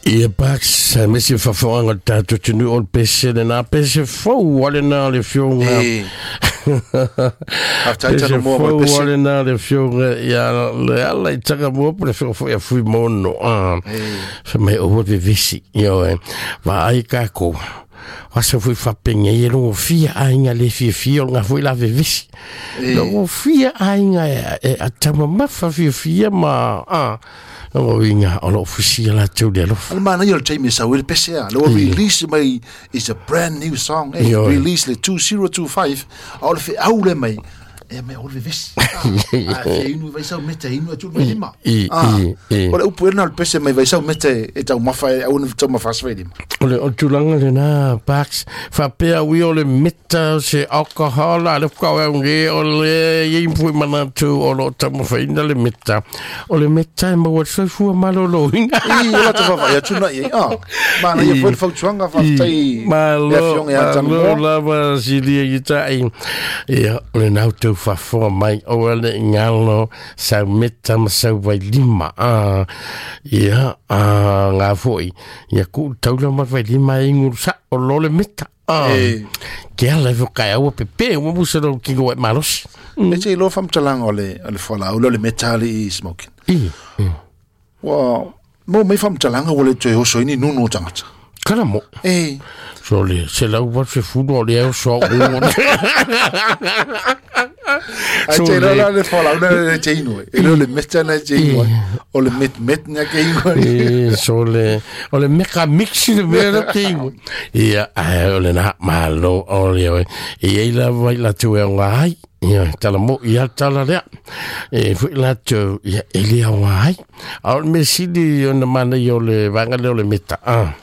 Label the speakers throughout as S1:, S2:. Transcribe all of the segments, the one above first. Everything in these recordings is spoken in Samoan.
S1: Ia Parks, aemaise le faafofoga a le tatou atunuu o le pese lena, pese fou lava lena o le Afioga.
S2: E. Faafetai
S1: Pese
S2: Tanomua mo le
S1: fou
S2: pese.
S1: lava lena o le Afioga ia Leala i Tagamua po o le Afioga foi ia Fuimono. Ah. Fai mai aua le vevesi. Ioe, vaai tatou. O aso foi faapenei e logofia aiga le fiafia o lena foi la vevesi. Logofia aiga e taumamafa fiafia ma ah, lona uiga o loo fusia latou le alofa.
S2: O le manaia o le taimi e sau ai le pese a, le ua release mai is a brand new song, eh,
S1: Ioe.
S2: release le 2025, a o le feau lea mai, e mai o le vevesi. Ah, a fia inu i vaisau meta e inu atu le vailima.
S1: I,
S2: Ah,
S1: i, i.
S2: o le upu ena o le pese mai vaisau meta e taumafa e aua ne taumafa ase vailima.
S1: O le o le tulaga lena Parks, faapea ui o le meta o se alcohol, a le faatoa au nei o le i ai foi manatu o lo o taumafaina le meta. O le meta e maua i le soifua maloloina.
S2: I, o latou vaavaai atu na i ai. Ah, manaia foi le fautuaga, faafetai le
S1: Malo,
S2: afioga ia
S1: malo
S2: Tanumoa.
S1: lava silia i tai. Ia, o lena outou faafofoga mai, aua ne i galo sau meta ma sau vailima. Ah, ia, ah, ngā foi. Ia, kuu le taula ma le vailima e inu sao loa le meta. Ah,
S2: E.
S1: ke ala e fokai aua pepe, ua musa lou tino ai malosi.
S2: E te iloa faamatalaga o le o le fualaau lea o le meta alii smoking.
S1: I,
S2: Ua maua mai faamatalaga ua le toe oso ai ni nunu o tagata.
S1: kala mo.
S2: E.
S1: So le, 180 o le oso au.
S2: Ai
S1: So
S2: te iloa
S1: le,
S2: la le fualaau na le te inu ai. E le o le meta na te inu ai. O le met met na ke inu ai.
S1: E, so le, o le meka mix le mea le te inu. Ia, ai, o le na, malo, o le oe. E ei lava i latou e aoga ai. Ia, tala mo, ia tala lea. E foi latou, ia, e le aoga ai. A o le mea sili ona manaia o le vaega lea o le meta. Ah.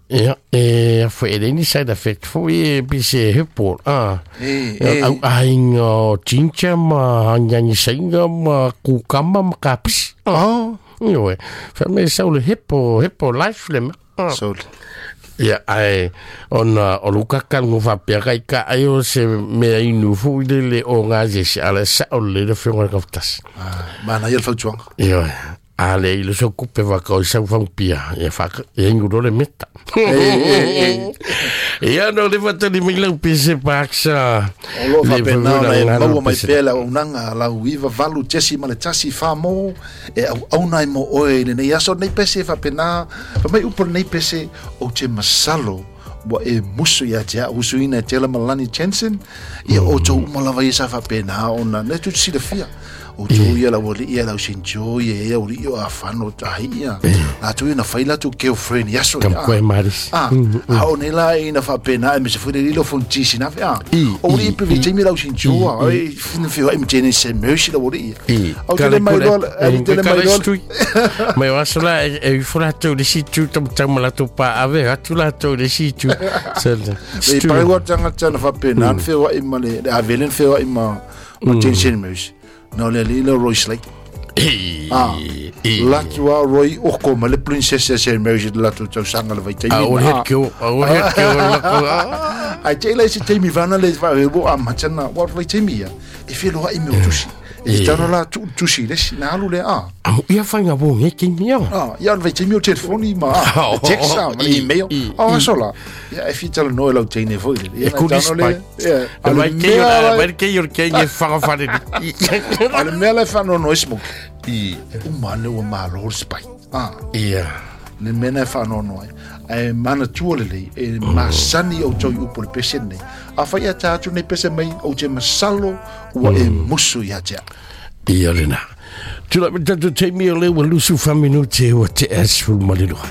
S1: Ia, e a foi e leai ni side effect foi e pei se herbal. Ah.
S2: E,
S1: Ia,
S2: e.
S1: au aiga o ginger ma agiagi saiga ma kukama ma kapisi. Ah.
S2: Oh.
S1: Ioe, fai mai sau le hepo, hepo life le mea. Ah.
S2: So le.
S1: Ia, ae, ona o lou kakaluga faapea kai ka ai o se mea inu foi lele o gasese, a o le sa'o lelei le afioga i le gafatasi.
S2: Ah, manaia le fautuaga.
S1: Ioe, a leai le sokupe faakao i sau fagupia, ia faaka, ia inu loa le meta.
S2: E, e, e.
S1: Ia, na o le faatali mai lau pese paksa.
S2: O loo
S1: Le
S2: faapena ona e
S1: fautuaga
S2: maua mai
S1: pese.
S2: pea le auaunaga a lau 98 tesi ma le tasi fā-mō e auauna ai mo oe i lenei aso lenei pese e faapena fai mai upu o lenei pese ou te masalo ua e musu ia te a'u usuina e tela Malani Jensen ia outou uma lava ia sa faapena ona le tu silafia outou ia lau alii ia lau sinjo ia ia auli'i o afano tahi ia latou ia na fai latou girlfriend i aso ia
S1: Kamkoe maris.
S2: Ah, a o nei la ina faapena e mese foi le lilo fonutisi na fe a.
S1: I,
S2: O
S1: i,
S2: li pe vi
S1: i.
S2: taimi lau sinjoa, ai fina fi ai mtene se mercy la wori.
S1: I,
S2: Au tele mai loa, au tele mai loa.
S1: Mai o aso la, e ifo latou le isi itu taumatau ma latou paave, atu latou le isi itu. Se le,
S2: Le
S1: stu.
S2: pare wa tanga tana faapena na fe wa i ma le avele fe wa i ma ma Jensen Mercy. No le lilo Royce Lake.
S1: I,
S2: Ah,
S1: i.
S2: Latu a Roy oko ma le princess se Mercy latu tausaga le vaitaimi.
S1: A o het keo, a o het keo lako. Ah.
S2: Ai te lei se taimi vana le fa e bo a matana wa vaitaimi ia. E feloa i me o tusi. E tano la tu tusi le si na alu le a.
S1: Amo ia whainga wō nge ki mea.
S2: Ah, ia le vaitaimi o telefoni ma a,
S1: Oh,
S2: text a, ma le
S1: i,
S2: email.
S1: i,
S2: Oh,
S1: i.
S2: aso la. Ia e fitala no e lau teine foi le.
S1: E kuri spike.
S2: Ia,
S1: E
S2: a le
S1: mai kei o
S2: mea
S1: la,
S2: la-
S1: mai kei o le kei e whakawhare ni.
S2: a le mea la e whanono e smoke.
S1: I,
S2: E uma ane ua malo le spike. Ah,
S1: ia.
S2: le mea na e whanono ai. Ae manatua lelei, e masani o tau i upu le pese nei. A whai a tā atu nei pese mai, o te masalo ua e musu ia te a.
S1: Ia lena. Tula me tatou taimi o le ua lusu whaminute ua te asful ma le lua.